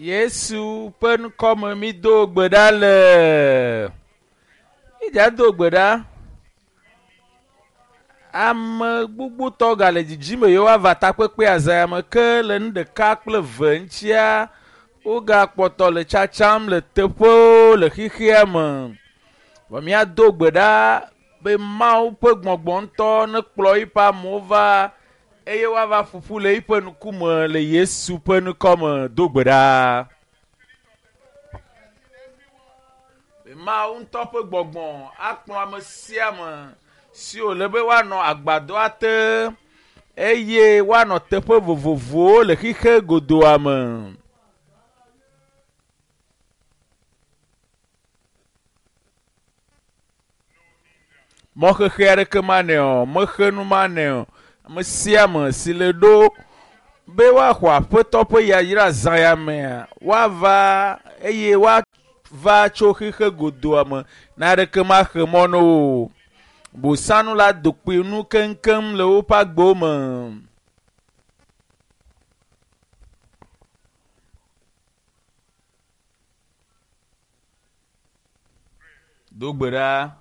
Yesu ƒe ŋkɔme mído gbe ɖa le. Mídza do gbe ɖa. Ame gbogbotɔ gale dzidzime yewoava takpekpea zã me ke le nu ɖeka kple eve ŋutia wogakpɔtɔ le tsatsam le teƒewo le xexea me. Vɔ míado gbe ɖa be Mawu ƒe gbɔgbɔ ŋutɔ nekplɔ eƒe amewo va eye woava ƒoƒu le eƒe ŋkume le Yesu ƒe ŋkɔme do gbe ɖa. Be Mawu ŋutɔ ƒe gbɔgbɔ akplɔ ame sia ame si wòle be woanɔ agbadɔa te eye woanɔ teƒe vovovowo le xixe godoa me. Mɔxexe aɖeke manɛ o, mexenu manɛ o. Ame sia ame si le ɖo be woaxɔ aƒetɔ ƒe yayra zã ya mea, woava eye woava tso xixe godoa me naɖeke maxe mɔ na wo o. Bosanu la do kpoe nu keŋkeŋ le woƒe agbewo me. Do gbe ɖa.